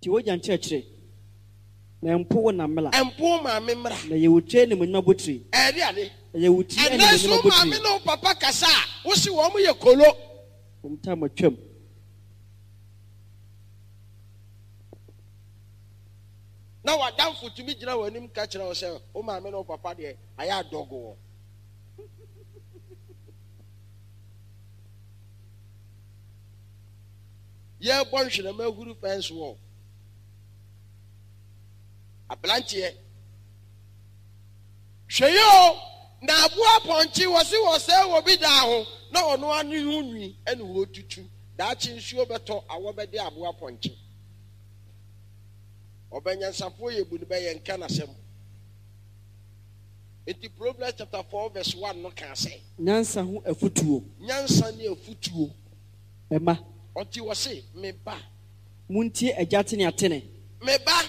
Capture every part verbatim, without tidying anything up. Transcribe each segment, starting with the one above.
Tie w'agya nkyerɛkyerɛ, na mpo wo na mmara. Mpo wo maame mmara. Na ɛyɛ wo tiri animuonyam abotire. Ɛyɛ ade. Ɛyɛ wo tiri Ɛnnɛ animuonyam nso wo abotire. maame ne wo papa kasa a, wose wɔn yɛ kolo. Wɔn tam atwam. Na w'adamfo tumi gyina w'anim ka kyerɛ wo sɛ wo maame ne wo papa deɛ ayɛ adɔgo wɔn. Yɛrebɔ nhwerɛma ahuru fence wall. Aberanteɛ, hwɛ yi o, na aboa pɔnkye wɔse wɔsɛe wɔ bi daa ho na ɔno ara ne ho nwi ɛna wɔtutu. Daakye nsuo bɛtɔ awɔ bɛde aboa pɔnkye. Ɔbɛnyansafoɔ yɛ bu no bɛyɛ nka n'asɛm. Nti Proverbs chapter four verse one no kaa sɛ. Nyansa ho afutuo. Nyansa ne afutuo. Mma. Ɔnti ɔse, Me ba. Montie agya ateneatene. Me ba,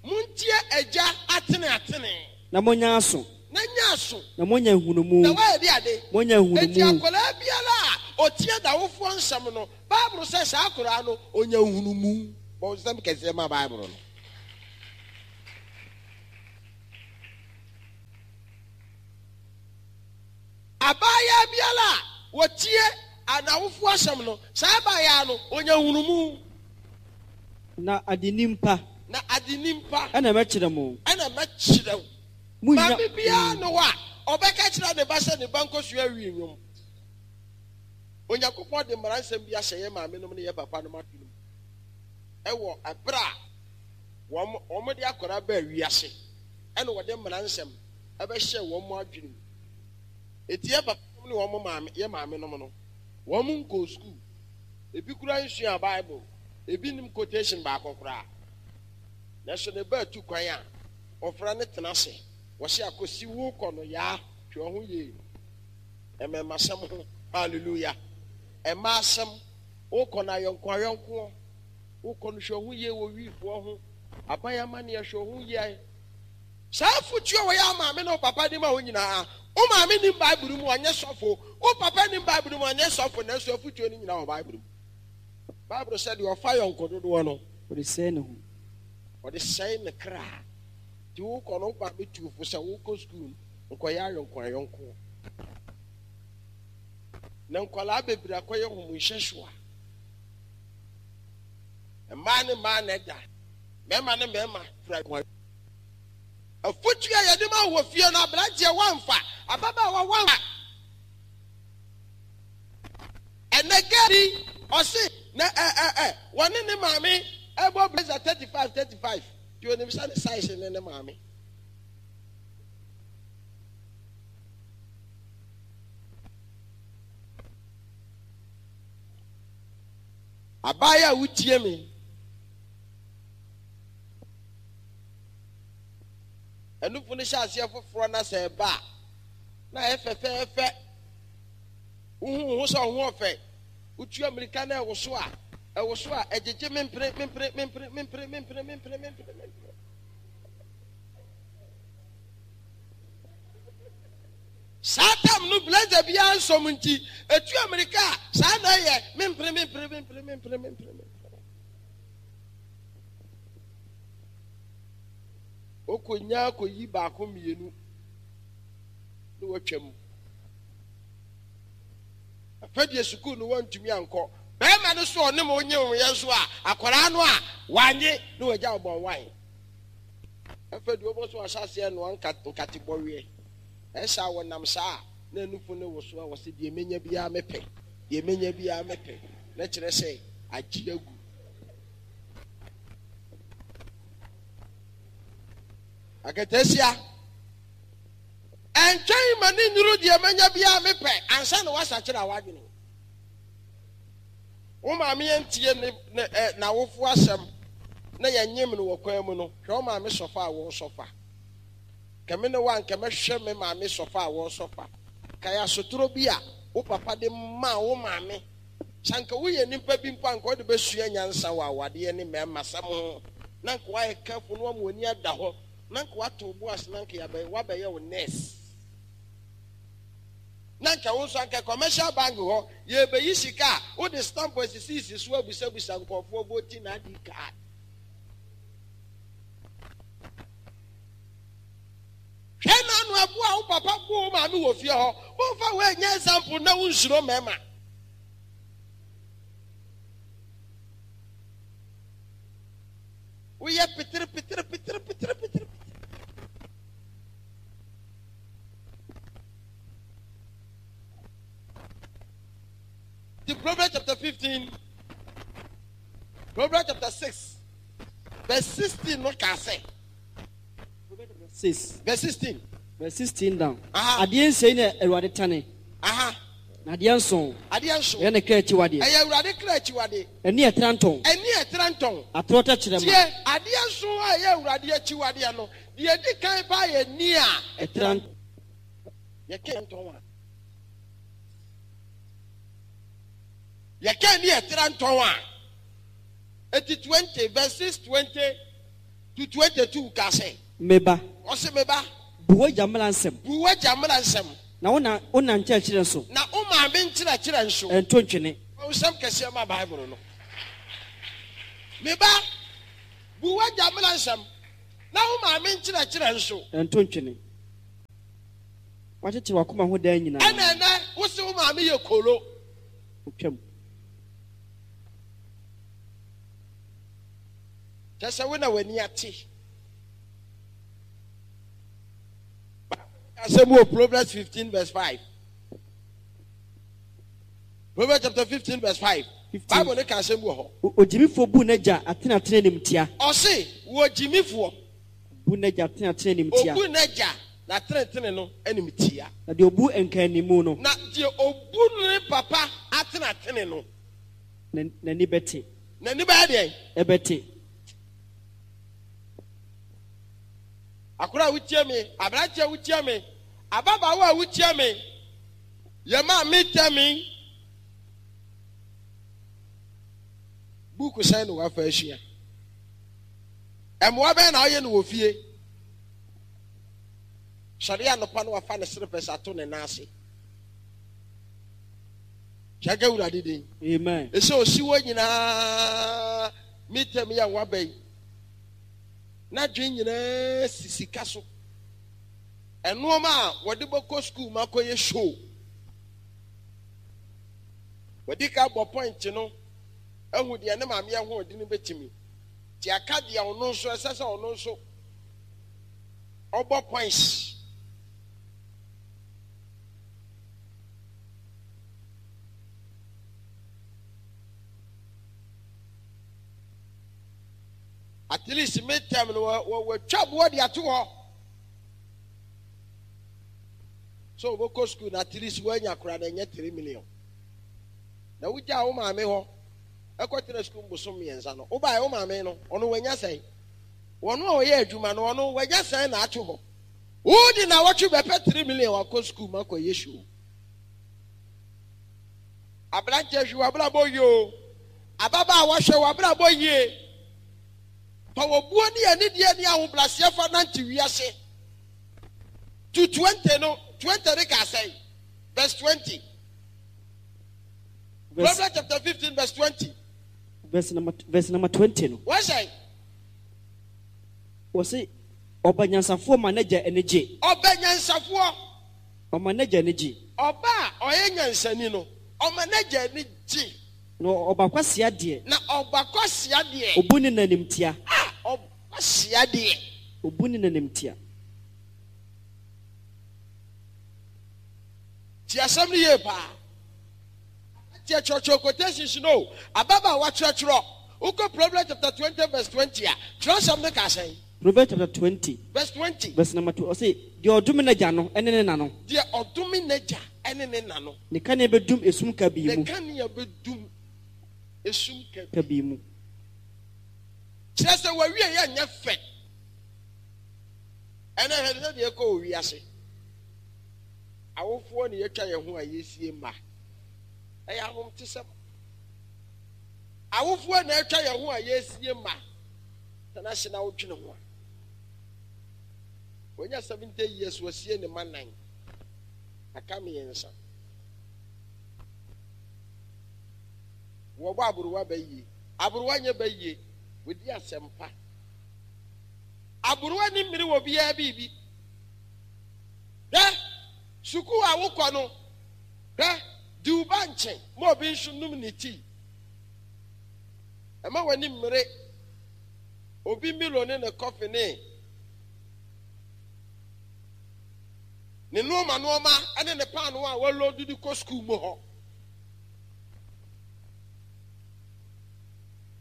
montie agya ateneatene. Na monyɛ aso. Na nyɛ aso. Na moanya nhunumu. Na woayɛ de ade. Moanya nhunumu. Enti akwadaa biara a ɔtie n'awofoɔ nsɛm no, Bible sɛ saa akwadaa no, ɔnya nhunumu. Bɔ nsɛm kɛseɛ ma Bible no. Abaayaa biara a ɔtie n'awofoɔ asɛm no, saa abaayaa no, ɔnya nhunumu. Na adenim pa. Na adenim pa. Ɛna mɛkyerɛ mo. Ɛna mɛkyerɛ wo. Monnya. Maame biara nni hɔ a ɔbɛka kyerɛ ne ba sɛ ne ba nkɔsua wi nnwom. Onyankopɔn de mmara nsɛm bi ahyɛ yɛn maamenom ne yɛn papanom adwene mu wɔ ɛberɛ a wɔn wɔde akwadaa baa wiase, ɛna wɔde mmara nsɛm ɛbɛhyɛɛ wɔn adwene mu. Enti yɛn papanom ne wɔn maame, yɛn maamenom no, wɔn nkɔɔ sukuu. Ebi koraa nsuaa Bible. Ebi nnim quotation baako koraa. Nanso ne ba atu kwan a, wɔfrɛ no tena ase. Wɔse akosi wo kɔ no yaa, hwɛ wo ho yie. Mmarimasɛm ho, hallelujah. Mmaa asɛm, wokɔ no ayɔnko ayɔnkoɔ. Wokɔ no hwɛ wo ho yie wɔ wiifoɔ ho. Aban amanneɛ hwɛ wo ho yie. Saa afotu a wɔyɛ a maame ne wo papa de ma wo nyinaa, wo maame nnim Bible mu, ɔnyɛ sɔfo, wo papa nnim Bible mu, ɔnyɛ sɔfo, nanso afotuo no nyinaa wɔ Bible mu. Bible sɛ deɛ ɔfa yɔnko dodoɔ no, Ɔde sɛe ne ho. Ɔde sɛe ne kra. Nti wokɔ no, wo maame tu fo sɛ wokɔ sukuu no, nkɔyɛ ayɔnko ayɔnko. Na nkwadaa bebree akɔyɛ homosexual. Mmaa ne mmaa na ɛda, mmarima ne mmarima fira. Afotu a yɛde ma wɔ fie no, aberanteɛ woamfa, ababaawa woamfa. Ɛnɛ girl bi ɔse na ɛ ɛ ɛ wɔne ne maame ɛbɔ blazer thirty five thirty five nti onim sɛ ne size ne ne maame. Abaayewa a wotie me. Anufo no hyɛ aseɛ foforɔ na sɛ ɛba a, na ayɛ fɛfɛɛfɛ. Wohu wo ho sɛ wo ho ɔfɛ. Wotua mmirika na ɛwoso a, ɛwoso a, ɛgyegye mempere, mempere, mempere, mempere, mempere, mempere, mempere, mempere. Saa tam no blazer biara nsɔm nti, ɛtua mmirika a, saa na ɛyɛ mempere, mempere, mempere, mempere, mempere, mempere. Okonya koyi baako mmienu na watwam. Afei deɛ sukuu no wantumi ankɔ. Bɛrima no so ɔne mo nye wo yɛ nso a, akwadaa no a wanye na wagya wo bɔn wan. Afei deɛ wɔbɔ so ahyɛ aseɛ noa nkate bɔweɛ. Ɛsɛ a wɔnam saa a na nufu no woso a wɔsɛ deɛ menya biara mepɛ, deɛ menya biara mepɛ. Na kyerɛ sɛ agye agu. Akataasia, ɛntwɛn ma ne nnuru deɛ manya biara mepɛ ansa na woasakyera w'adwene. Wo maame antie ne ne ɛ n'awofo asɛm na yɛnyem no wɔ kwan mu no, hwɛ wo maame sɔfa a wɔresɔfa. Kɛ me ne wo a nka mɛhwɛ me maame sɔfa a wɔresɔfa. Kae asotorɔ bi a wo papa de maa wo maame. Sɛ anka woyɛ nipa bi mpo a, anka wode bɛsua nyansa wɔ awadeɛ ne mmarimasɛm ho, na anka woayɛ careful na woama w'ani ada hɔ, na anka woato wo bo ase na anka yɛabɛ, woabɛyɛ wo nurse. Na anka wo nso anka commercial bank hɔ, yɛrebɛyi sika a, wode stamp asisisi so abusabusa nkurɔfoɔ voting I D card. Bo a wo papa bo wo maame wɔ fie hɔ, momfa woanyɛ example na wonsuro mmarima. Woyɛ petere petere petere petere petere. The Proverbs chapter fifteen, Proverbs chapter six, verse sixteen no ka sɛ. Six. Verse sixteen. Verse sixteen down. Aha. Adeɛ nsia na Awurade tane. Aha. Na adeɛ nson. Adeɛ nson. Ɛyɛ ne kra akyiwadeɛ. Ɛyɛ Awurade kra akyiwadeɛ. Ɛne ɛtera ntɔn. Ɛne ɛtera ntɔn. Atorɔ tɛkyerɛma. Tie, adeɛ nson a ɛyɛ Awurade akyiwadeɛ no, deɛ edi kan paa yɛ ni a ɛtera ntɔn. Yɛka ntɔn a. Yɛka ni ɛtera ntɔn a. Eti twenty verses twenty to twenty-two ka sɛ. Meba. Ɔse meba. Bu w'agya mmara nsɛm. Bu w'agya mmara nsɛm. Na wo na wo na nkyerɛkyerɛ nso. Na wo maame nkyerɛkyerɛ nso. Ɛnto ntwene. Nsɛm kɛseɛ ma Bible no. Meba. Bu w'agya mmara nsɛm. Na wo maame nkyerɛkyerɛ nso. Ɛnto ntwene. Wakyekyere w'akoma ho dan nyinaa. Ɛna ɛnɛ wo se wo maame yɛ kolo. Otwam. Kyerɛ sɛ wo na w'ani ate. Asɛm wɔ Proverbs fifteen verse five. Proverbs chapter fifteen verse five. Bible ne ka asɛm wɔ hɔ. Ogyimifoɔ bu n'agya atenatene nimtia. Ɔse wɔ gyimifoɔ. Bu n'agya atenatene nimtia. Obu n'agya n'atenatene no animtia. Na deɛ obu nkaanimu no. Na deɛ obu ne papa atenatene no. N'ani bɛte. N'ani bɛyɛ deɛ? Ɛbɛte. Akora a wotie me, aberanteɛ a wotie me, ababaawa a wotie me, yɛ maa me tɛ me. Buku sɛn na wafa asua. Ɛmmoa bɛn na ɔyɛ no wɔ fie. Sɔre anɔpa no wafa ne serepɛs ato ne nan ase. Hyɛ Awurade din. Amen. Ɛsɛ osi hɔ nyinaa me tɛm yɛ waba yi. Na dwen nyinaa si sika so. Ɛnoɔma a wɔde bɛkɔ sukuu ma kɔyɛ show. Wɔde ka bɔ point no ehu deɛ ne maame ɛho ɔde no bɛtumi. Te aka deɛ ɔno nso ɛsɛ sɛ ɔno nso ɔbɔ points. At least midterm no wɔtwa boɔ de ato hɔ. So wɔbɛkɔ school na at least wɔanya koraa na ɛnyɛ three million. Na wogyaa wo maame hɔ ɛkɔtena school bosom mmiɛnsa no wobaeɛ wo maame no ɔno wanya sɛn. Wɔno a ɔyɛ adwuma no ɔno wanya sɛn na ato hɔ. Wodi na wɔtwe bɛpɛ three million wakɔ school ma kɔyɛ show. Aberanteɛ hwɛ w'abrabɔ yie o. Ababaawa hwɛ w'abrabɔ yie. Fa wɔ buo ne anidie ne ahobrɛaseɛ fa nante wiase. To twenty no, twenty ne ka sɛn? Verse twenty. Verse, Proverbs chapter fifteen verse twenty. Verse number, verse number twenty no. Wọ́n sẹ́. Wɔse ɔba nyansafoɔ ma n'agya ani gye. Ɔba nyansafoɔ. Ɔma n'agya ani gye. Ɔba a ɔyɛ nyansani no, ɔma n'agya ani gye. Na ɔba kwasia deɛ. Na ɔba kwasia deɛ. Obu ne n'animtia. Ah, ɔba kwasia deɛ. Obu ne n'animtia. Ti asɛm no yie paa. Ti ɛkyerɛkyerɛ quotations no. Ababaawa kyerɛkyerɛ. Wokɔ Proverbs chapter twenty verse twenty a, kyerɛsɛm no ka sɛn? Proverbs chapter twenty. Verse twenty. Verse number two. Ɔse deɛ ɔdome n'agya no ɛne ne na no. Deɛ ɔdome n'agya ɛne ne na no. Ne kanea bɛdum esum kabii mu. Ne kanea bɛdum esum kabii mu. Kyerɛ sɛ wɔawie yɛ nyɛ fɛ. Ɛnɛ hwɛ sɛ deɛ ɛkɔ wɔ wiase. Awofoɔ ne yɛtwa yɛn ho a yɛsie mma. Ɛyɛ ahomtesɛm. Awofoɔ na ɛtwa yɛn ho a yɛsie mma. Tena ase na wodwene ho a. Wɔnya seventy years wɔsie ne mma nnan. Aka mmiɛnsa. Wɔbɔ aburuwa bɛyie. Aburuwa nyɛ bɛyie. Wɔdi asɛmpa. Aburuwa ni mmiri wɔ biara biribi. Hwɛ, sukuu a wokɔ no, hwɛ, di wo ba nkye ma obi nso num ne tii. Ɛma w'ani mmere obi Milo ne ne kɔfe ne ne nnoɔma nnoɔma ne ne paanoo a wɔloodu de kɔ sukuu mu hɔ.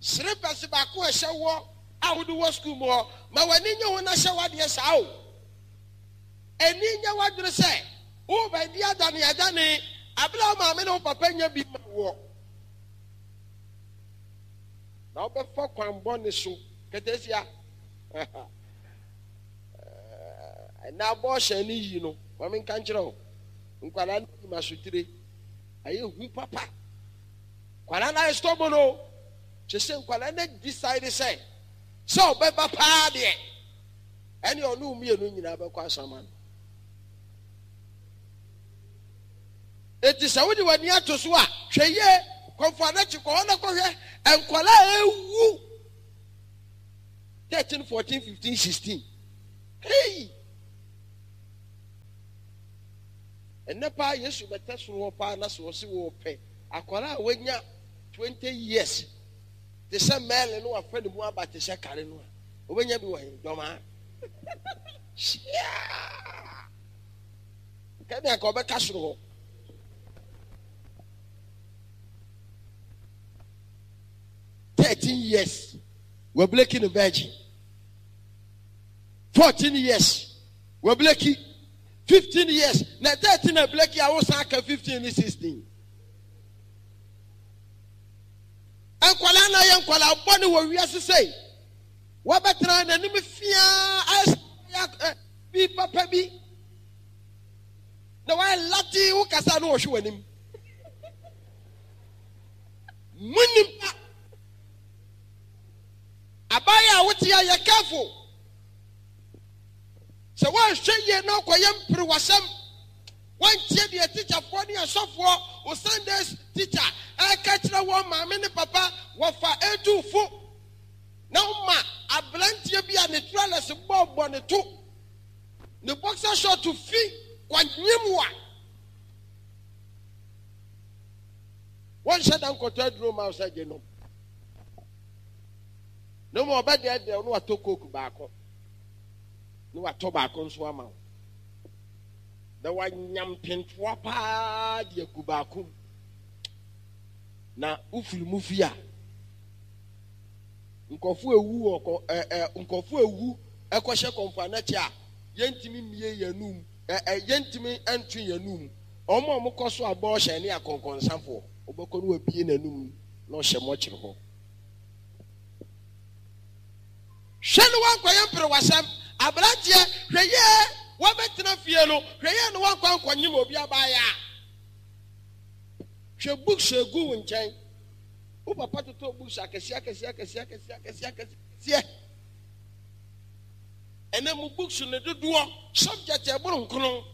Serepɛs baako a ɛhyɛ woɔ a wode wɔ sukuu mu hɔ, ma w'ani nye ho na hyɛ w'adeɛ saa o. Ani nyɛ w'adwene sɛ worebɛdi adaneadane abere a wo maame ne wo papa nya bi ma woɔ. Na wobɛfa kwan bɔne so ketesia. Ɛnna abɔɔhyɛn no yi no, ma menka nkyerɛ wo, nkwadaa no nim asotire. Ayɛ hu papa. Nkwadaa no ayɛ stubborn o. Kyerɛ sɛ nkwadaa no decide sɛ sɛ ɔbɛba paa deɛ, ɛne ɔne wo mmienu nyinaa bɛkɔ asaman. Enti sɛ wode w'ani ato so a, hwɛ yie, kɔmfo anakyi kɔ hɔ na kɔhwɛ nkwadaa a ɛwu thirteen, fourteen, fifteen, sixteen. Hey! Ɛnnɛ paa Yesu bɛtɛ soro hɔ paa na sɛ ɔse wɔpɛ akwadaa a wanya twenty years te sɛ Mɛle no wafa ne mu aba te sɛ kare no a, wobɛnya bi wɔ he? Dɔmaa. Hyia! Kɛne anka ɔbɛka soro hɔ. Thirteen years, wɔableki no virgin. Fourteen years, wɔableki. Fifteen years, na thirteen na bleki a wosan aka fifteen ne sixteen. Nkwadaa na yɛ nkwadaa bɔne wɔ wiase sei. Wɔbɛtena n'anim fiaa ayɛ sɛ bi papa bi. Na wayɛ late wo kasa na wɔhwe w'anim. Mu nipa. Abaayɛ a wote a yɛ careful. Sɛ woanhwɛ yie na wokɔyɛ mperewasɛm, woantie deɛ tikyafoɔ ne asɔfoɔ, wo Sundays teacher ɛreka kyerɛ wɔn maame ne papa, wɔfa ɛretu fo, na woma aberanteɛ bi a ne trɔlɛs bɔɔbɔ ne to, ne boxer short fi kɔnyem wo a, wɔnhyɛ da nkɔtɔ aduro ma wo sɛ gye nom. Na mmom ɔbɛdɛɛdɛɛ wo na watɔ coke baako. Na watɔ baako nso ama wo. Na wanya mpentoa paa de agu baako mu. Na wofiri mu fi a, nkurɔfo ewu wɔ kɔ ɛ ɛ nkurɔfo ewu ɛkɔhyɛ kɔmfo anɛkyɛ a yɛntumi mmie yɛn anum ɛ ɛ yɛntumi nto yɛn anum. Wɔn a wɔkɔ so abɔɔhyɛn ne akɔnkɔnsafoɔ, wobɛkɔ no wabie n'anum na ɔhyɛ mɔkyere hɔ. Hwɛ na woankɔyɛ mperewasɛm. Aberanteɛ, hwɛ yie, woabɛtena fie no, hwɛ yie na woankɔ ankɔnyem obi abaayaa. Hwɛ books a ɛgu wo nkyɛn. Wo papa totɔɔ books akɛseɛ akɛseɛ akɛseɛ akɛseɛ akɛseɛ akɛseɛ. Ɛnɛ mo books no dodoɔ, subject ɛboro nkono.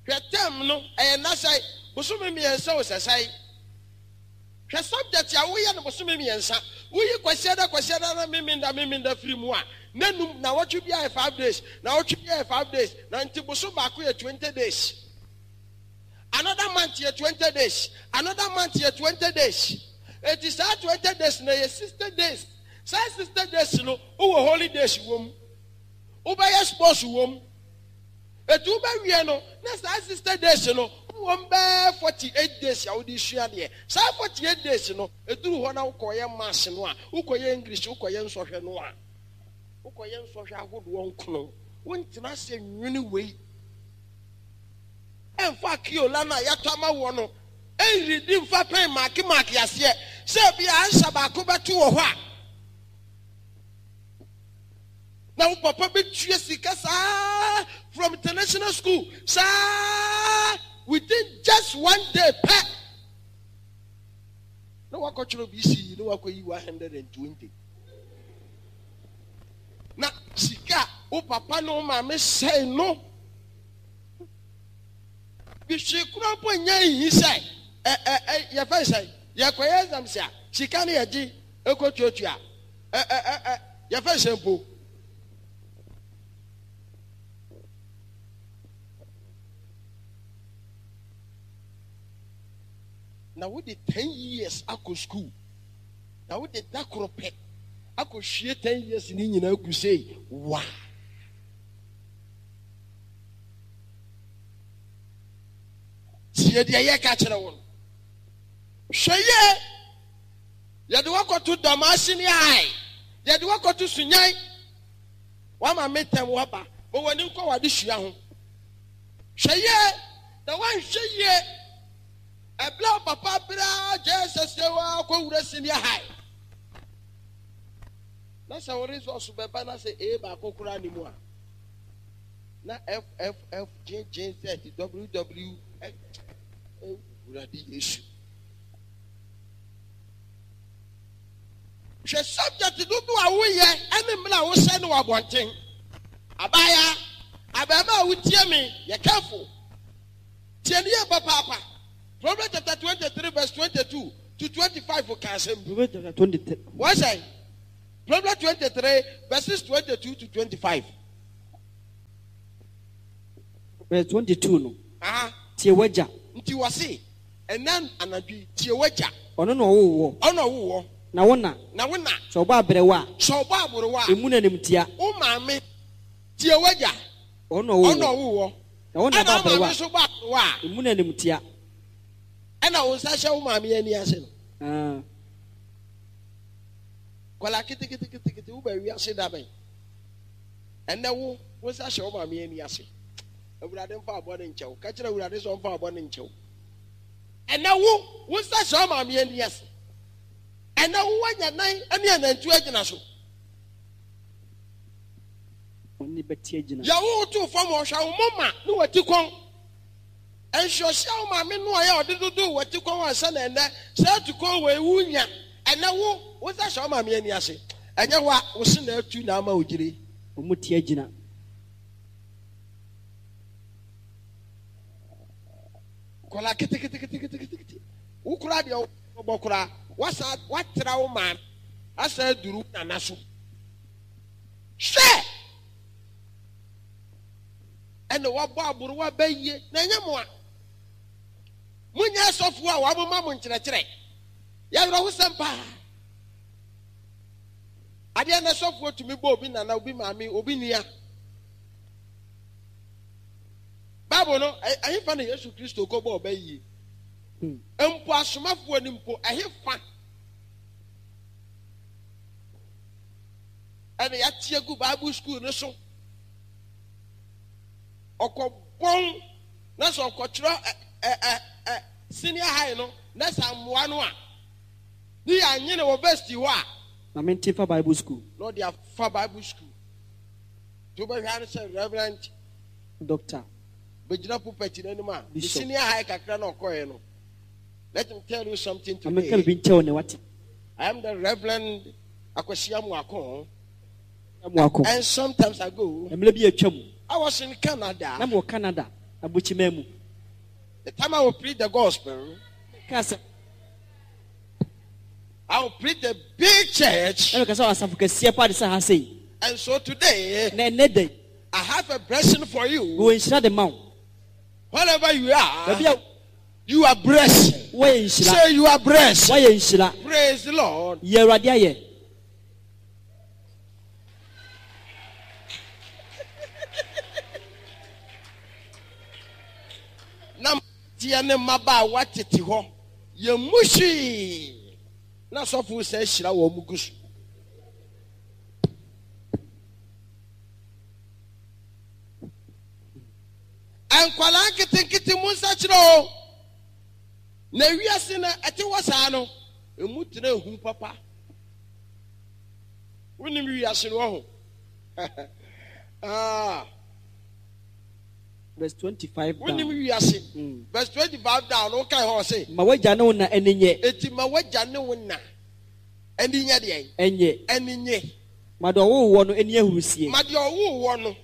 Hwɛ term no, ɛyɛ nna sɛe? Bosome mmiɛnsa o sɛ sɛe? Hwɛ subject a woyɛ no bosome mmiɛnsa. Woyi Kwasiada Kwasiada na Memenda Memenda firi mu a, nnanum, nnawɔtwe biara yɛ five days, nnawɔtwe biara yɛ five days, na nti bosom baako yɛ twenty days. Another month yɛ twenty days, another month yɛ twenty days. Enti saa twenty days no ɛyɛ sixty days. Saa sixty days no, wowɔ holidays wɔ mu, wobɛyɛ sports wɔ mu. Eti wobɛwie no, na saa sixty days no, wowɔ mu bɛyɛ forty eight days a wode sua adeɛ. Saa forty eight days no, ɛduru hɔ na wokɔyɛ maths no a, wokɔyɛ English, wokɔyɛ nsɔhwɛ no a, wokɔyɛ nsɔhwɛ ahodoɔ nkono. Wontena ase nwene wei. Ɛmfa akiola no a yɛatɔ ama woɔ no ɛnredi mfa pɛn maake maake aseɛ sɛ ebia ansa baako bɛto wɔ hɔ a, na wo papa bɛtua sika saa from international school saa within just one day pɛ na wakɔtwerɛ B C E na wakɔyi one hundred and twenty na sika wo papa ne wo maame sɛe no bihwee koraa mpo nyɛ nhi sɛ ɛ ɛ ɛ yɛfɛ sɛ yɛkɔyɛ exams a sika no yɛgye ɛkɔtuatua ɛ ɛ ɛ ɛ yɛfɛ sɛ mpo Na wode ten years akɔ school. Na wode da koro pɛ akɔhwie ten years ne nyinaa gu sei. Wa. Tie deɛ yɛka kyerɛ wo no. Hwɛ yie. Yɛde wakɔto Dɔmaase ne Ai. Yɛde wakɔto Sunyan. Wama me tɛm waba. Ma w'ani nkɔ w'adesua ho. Hwɛ yie. Na woanhwɛ yie. Ɛberɛ a papa berɛ Jesus yɛ wɔ akɔwura senior high. Na sɛ wo results bɛba na sɛ A baako koraa ne mu a. Na F F F G G Z W W X. Awurade Yesu. Hwɛ subject dodo a woyɛ ɛne mmerɛ a wohyɛ no wɔ abɔnten. Abaayaa, abarimaa a wotie me, yɛ careful. Tie ne yɛ papaapa. Proverbs chapter twenty-three verse twenty-two to twenty-five ka asɛm bi. Proverbs chapter twenty-three. Wɔn sɛ Proverbs twenty-three verses twenty-two to twenty-five. Verse twenty-two no. Aha. Tie w'agya. Nti wɔse ɛnɛ anadwo tie w'agya. Ɔno na ɔwo wɔ. Ɔno na ɔwo wɔ. Na wo na. Na wo na. Sɛ ɔbɔ abrɛwa a. Sɛ ɔbɔ abrɛwa a. Emu na nimtia. Wo maame tie w'agya. Ɔno na ɔwo wɔ. Ɔno na ɔwo wɔ. Na wo na bɔ Ɛna wo abrɛwa. maame nso bɔ abrɛwa a. Emu na nimtia. Ɛna wo nsa hyɛ wo maame ani ase no. Ah. Kwala keteketekete wo ba wiase da bɛn. Ɛnɛ wo wo nsa hyɛ wo maame ani ase. Awurade mfa abɔ ne nkyɛw. Ka kyerɛ Awurade sɛ ɔmfa abɔ ne nkyɛw. Ɛnɛ wo wo nsa hyɛ wo maame ani ase. Ɛnɛ wo wanya nan ne anantu agyina so. Ɔne bɛte agyina. Yɛ wo to fam ɔhwɛ wo moma ne wati kɔn. Ɛnhwɛhyɛ wo maame no a yɛ ɔde dodo wati kɔn ansa na ɛnɛ sɛ atu kɔn wɔ ewu nya. Ɛnɛ wo wo nsa hyɛ wo maame ani ase. Ɛnyɛ wa wo se na atu na ama wo gyire. Ɔmo te agyina. Kɔla keteketeketekete. Wo kura deɛ wobɔ kura. Wasa watra wo maame. Asa aduru nana so. Hwɛ! Ɛna wabɔ aboro wabɛyie na ɛnyɛ mo a. Monyɛ asɔfoɔ a wɔamoma mo nkyerɛkyerɛ. Yɛwerɛ ho sɛm paa. Adeɛ na sɔfoɔ tumi bɔ obi nana, obi maame, obi nua. Bible no, ɛhefa na Yesu Kristo kɔbɔ ɔbɛyie? Mpo asomafoɔ ni mpo, ɛhefa? Ɛna yɛate agu Bible school no so. Ɔkɔbɔn na sɛ ɔkɔtwerɛ ɛ ɛ ɛ senior high no na sɛ amoa no a ne yɛ anyene wɔ varsity hɔ a. Na mente fa Bible school. Na ɔde afa Bible school. To bɛhwɛ ano sɛ Reverend Doctor bɛgyina pulpit n'anim a Bishop. Senior high kakra na ɔkɔɛ no. Let me tell you something Na menka today. biribi nkyɛw ne wate. I am the Reverend Akwasi Amoako. Amoako. And sometimes ago, Mmerɛ bi atwa mu. I was in Canada. Na mewɔ Canada, abukyima mu. The time I will preach the gospel, Ka sɛ, I will preach a big church. Na meka sɛ asafo kɛseɛ pa de sɛ ha sei. And so today, Na ɛnnɛ da yi, I have a blessing for you. Mewɔ nhyira de ma wo. Wherever you are, Baabi a you are blessed. Woayɛ nhyira. Say you are blessed. Woayɛ nhyira. Praise the Lord. Yɛ Awurade ayɛ. Na mmeranteɛ ne mmabaawa tete hɔ. Yɛn mu hwee. Na sɔfo sɛ hyira wɔn mu gu so. Nkwalaa nketenkete mu nsa kyerɛ o. Na wiase na ɛte wɔ saa no, emu tena ehu papa. Wonim wiase no ho. Ah. Verse twenty-five down. Wonim wiase. Mm. Verse twenty-five down. No kai ho say. Ma wagya ne wo na ani nye. Eti ma wagya ne wo na ani nye deɛ? Enye. Ani nye. Ma deɛ ɔwo wɔ no ani ahurusie. Ma deɛ ɔwo wɔ no.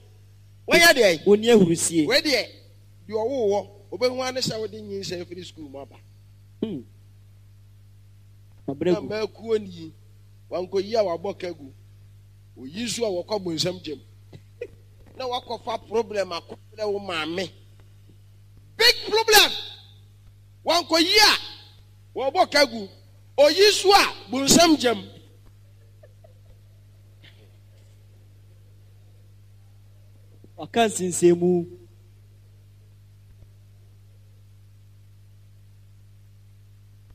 Wɔnyɛ deɛ? Oni ahurusie. Wei deɛ, deɛ ɔwo wɔ, obehu ane sɛ wode nyinsɛn firi school mu aba. Hmm. Mabrɛ Na gu. mmakuo ni, wankɔyi a wabɔ ka gu. Oyi nso a wɔkɔ bonsam gyam. Na wakɔfa problem akɔbrɛ wo maame. Big problem. Wankɔyi a Wɔbɔ kagu. Oyi so a bunsam gyam. Waka nsinsɛnmu.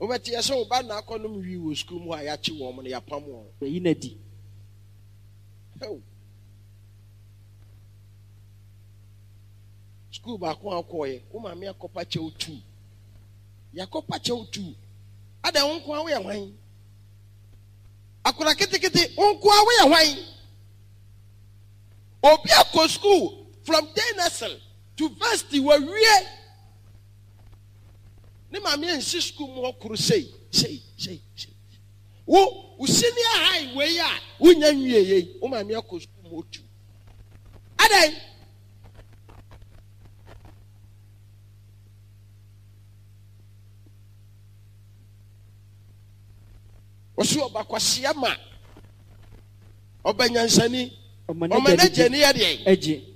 Wobɛte yɛ sɛ wo ba na akɔnom wii wɔ sukuu mu hɔ a yɛakye wɔn no yɛapam wɔn. Yɛyi n'adi. Hɛw. Sukuu baako a wokɔɔyɛ, wo maame akɔpa kyɛw tu. Yɛakɔpa kyɛw tu. Ada wo nko a woyɛ hwan? Akora ketekete, wo nko a woyɛ hwan? Obi akɔ sukuu from day nursery to varsity wawie. Ne maame ansi sukuu mu hɔ koro sei, sei, sei, sei. Wo, wo senior high wei a wonya nwie yei, wo maame akɔ sukuu mu hɔ tu. Adan. Wɔsi ɔba kwasia ma ɔba nyansani. Ɔma Ɔma n'agya ni yɛ deɛ. Agye.